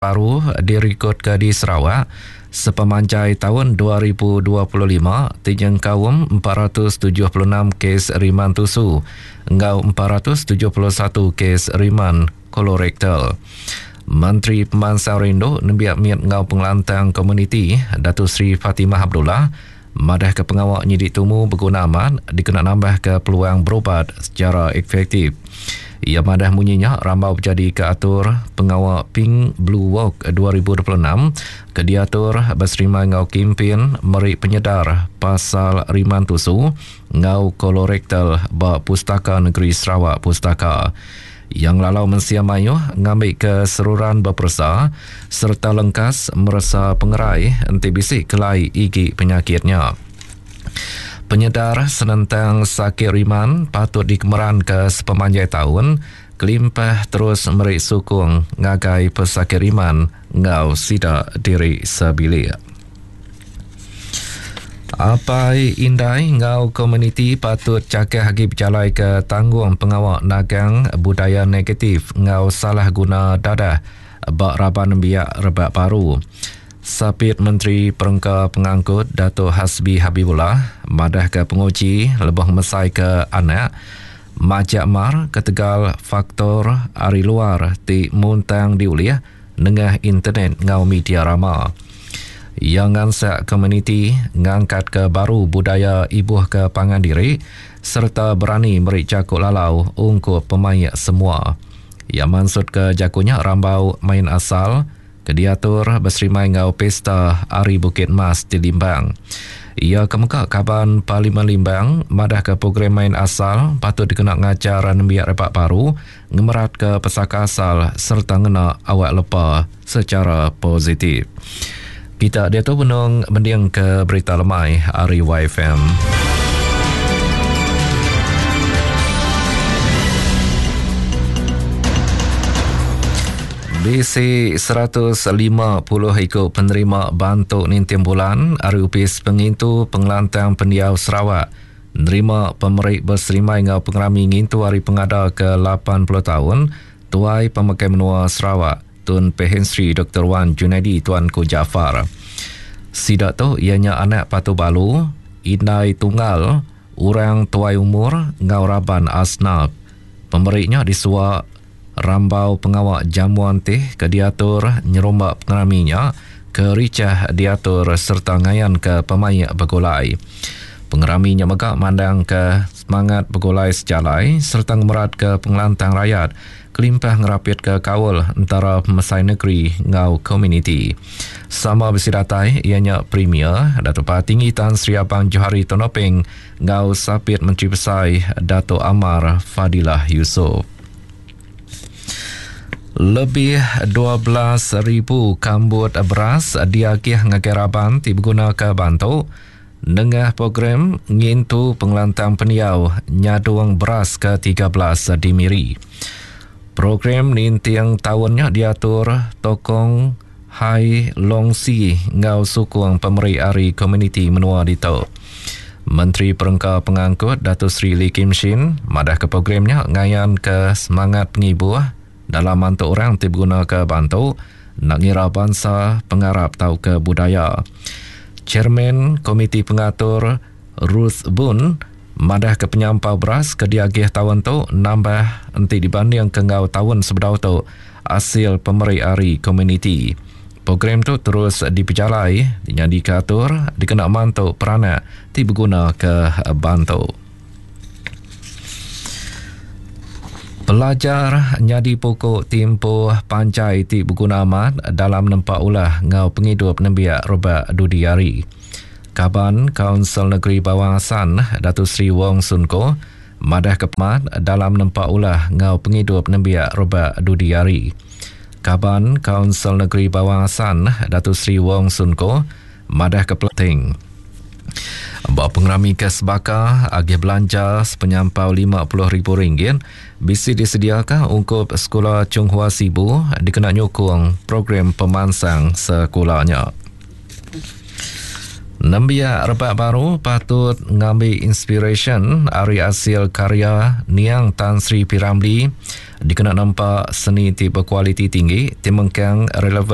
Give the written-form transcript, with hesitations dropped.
Baru dirikodka di Sarawak sepemanjai taun 2025 ti nyengkaum 476 kes riman tusu enggau 471 kes riman kolorektal. Menteri Pemansang Rindu Nembiak Mit enggau Pengelantang Komuniti Dato Sri Fatimah Abdullah madahka pengawa nyidi tumu beguna amat dikena nambahka peluang berubat sechara efektif. Iya madah munyi nya rambau bejadika atur pengawa Pink Blue Walk 2026 ke diatur beserimbai enggau kimpin meri penyedar pasal riman tusu enggau kolorektal ba Pustaka Negeri Sarawak, Pustaka. Iya ngelalau mensia mayuh ngambika seruran beperesa sereta lengkas meresa pengerai enti bisi kelai igi penyakit nya. Penyedar senentang sakit riman patut dikemeranka sepemanjai taun kelimpah terus meri sukung ngagai pesakit riman enggau sida diri sebilik. Apai indai enggau komuniti patut chakah agi bejalaika tanggung pengawa nagang budaya negatif enggau salah guna dadah ba raban nembiak rebak baru. Sapit Menteri Perengka Pengangkut Datuk Hasbi Habibollah madahka penguji lebuh ngemesaika anak majak mar ketegal faktor ari luar ti muntang diulih nengah internet enggau media rama. Iya ngansak komuniti ngangkatka baru budaya ibuhka pangan diri sereta berani meri jaku lalau ungkup pemaik semua. Iya mansutka jaku nya rambau main asal ke diatur beserimbai enggau Pesta Hari Bukit Mas di Limbang. Iya ke mega Kaban Parlimen Limbang madahka program main asal patut dikena ngajar nembiak rebak baru ngemeratka pesaka asal sereta ngena awak lepa sechara positif. Kita diatu benung mendingka berita lemai ari YFM. Bisi 150 iku penerima bantu ninting bulan ari Opis Pengintu Pengelantang Pendiau Sarawak Nerima pemeri beserimbai enggau pengerami ngintu Hari Pengada ke 80 taun, Tuai Pemakai Menua Sarawak, Tun Pehin Sri Doktor Wan Junaidi Tuanku Jaafar. Sida tu iya nya anak patu balu, indai tunggal, orang tuai umur enggau raban asnaf. Pemeri nya disuwa rambau pengawa jamuan teh ke diatur nyerumba pengerami nya ke richah diatur sereta ngayanka pemaik begulai. Pengerami nya mega mandangka semangat begulai sejalai sereta ngemeratka pengelantang rayat kelimpah ngerapitka kaul entara pemesai negeri enggau komuniti. Sama bisi datai iya nya Premier Datuk Patinggi Tan Sri Abang Johari Tun Openg enggau Sapit Menteri Besai Datuk Amar Fadillah Yusof. Lebih 12,000 kambut beras diagih ngagai raban ti begunaka bantu nengah program ngintu pengelantang pendiau nyadung beras ke 13 di Miri. Program ninting taun nya diatur Tokong Hai Long Si enggau sukung pemeri ari komuniti menua ditu. Menteri Perengka Pengangkut Dato Sri Lee Kim Shin madahka program nya ngayanka semangat pengibuh dalam mantu orang ti begunaka bantu enda ngira bansa, pengarap tauka budaya. Chairman Komiti Pengatur Ruth Boon madahka penyampau beras ke diagih taun tu nambah enti dibandingka enggau taun sebedau tu asil pemeri ari komuniti. Program tu terus dipejalai nyadika atur dikena mantu peranak ti begunaka bantu. Pelajar nyadi puku timpuh panjai ti beguna amat dalam nempa ulah enggau pengidup nembiak rebak dudi hari. Kaban Kaunsil Negeri Bawang Assan, Dato Sri Wong Soon Koh, madahka pemat dalam nempa ulah enggau pengidup nembiak rebak dudi hari. Kaban Kaunsil Negeri Bawang Assan, Dato Sri Wong Soon Koh madahka pelanting ba pengerami ke sebaka agih belanja sepenyampau RM50,000 bisi disediaka ungkup Sekula Chung Hua Sibu dikena nyukung program pemansang sekula nya. Nembiak rebak baru patut ngambi inspirasyen ari asil karya niang Tan Sri P. Ramlee dikena nempa seni ti bekualiti tinggi ti mengkang relevan.